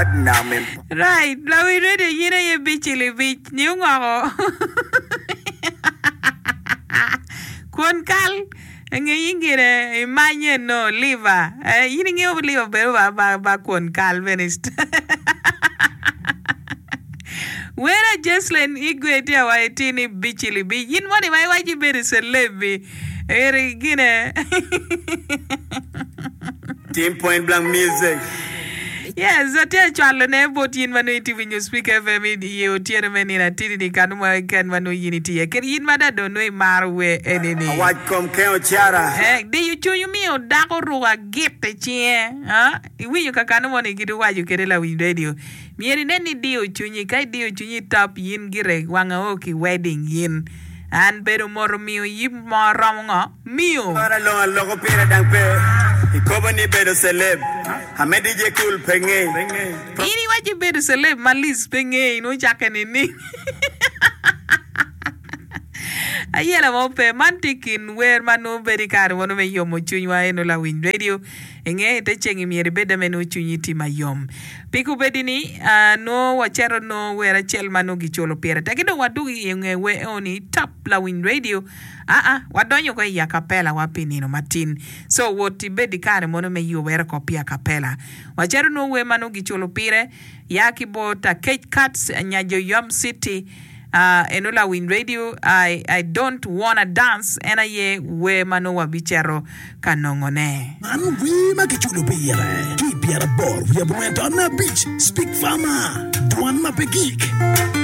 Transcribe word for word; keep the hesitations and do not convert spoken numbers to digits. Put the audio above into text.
Right, lawiny radio in aye bic libic nyo ngoko. Kwon kal nge ingine imanye no liver. Eh, in ingeyo liver bedo ba ba ba kwon kal bene. Wera Jeslen Igwe tye awaco tye ni bic libic. In moni ma iwaco ibedo celeb-bi. Eri gine. Team Point Blank Music. Yes, atye acwalo ne bot yin ma nongo itye winyo Speak FM i otyeno me nino atidi ni kanu mo keken ma nongo yin itye iye. Kede yin ma da dong nongo imaro wer eni ni. Awac kom ken ocara. Eh, diyo cwiny omiyo dako oruko agit i cinge. Ah, iwinyo ka kanu mo ni gidi waco kede lawiny radio. Myero inen ni idiyo cwinyi. Ka idiyo cwinyi top yin gire wanga o ki wedding yin. An bedo moto miyo yib mo romo ngo? Miyo. Para long aloko pire dang pe. Ikobo ni bedo celeb. Ame DJ Cool pe nge. In iwaco ibedo celeb ma Liz pe nge in ocakke nining? Ayela mo pe. Man tye kin wer ma nongo bedo i kare mono me yomo cwinywa eno lawiny radio. Inge ite ceng myero ibed ame nongo cwinyi tye mayom. Pi kubedi ni nongo wacito nongo wer acel ma nongo giculo pire tek ki dong wadwogo i nge wer eni top lawiny radio. Aa, wadonyo ko i acapella wa pi nino matin. So wot ibed i kare mono me yubere ko pi acapella. Wacito nongo wer ma nongo giculo pire ya ki bot Akec Cats nyajo Yom City. Uh, eno lawiny radio I, I don't wanna dance en aye wer ma nongo wabicito ka nongone. Man wer ma kiculo pire ki i pyeraboro wiye abongwen taun abic Speak Farmer, dwan ma pe gik.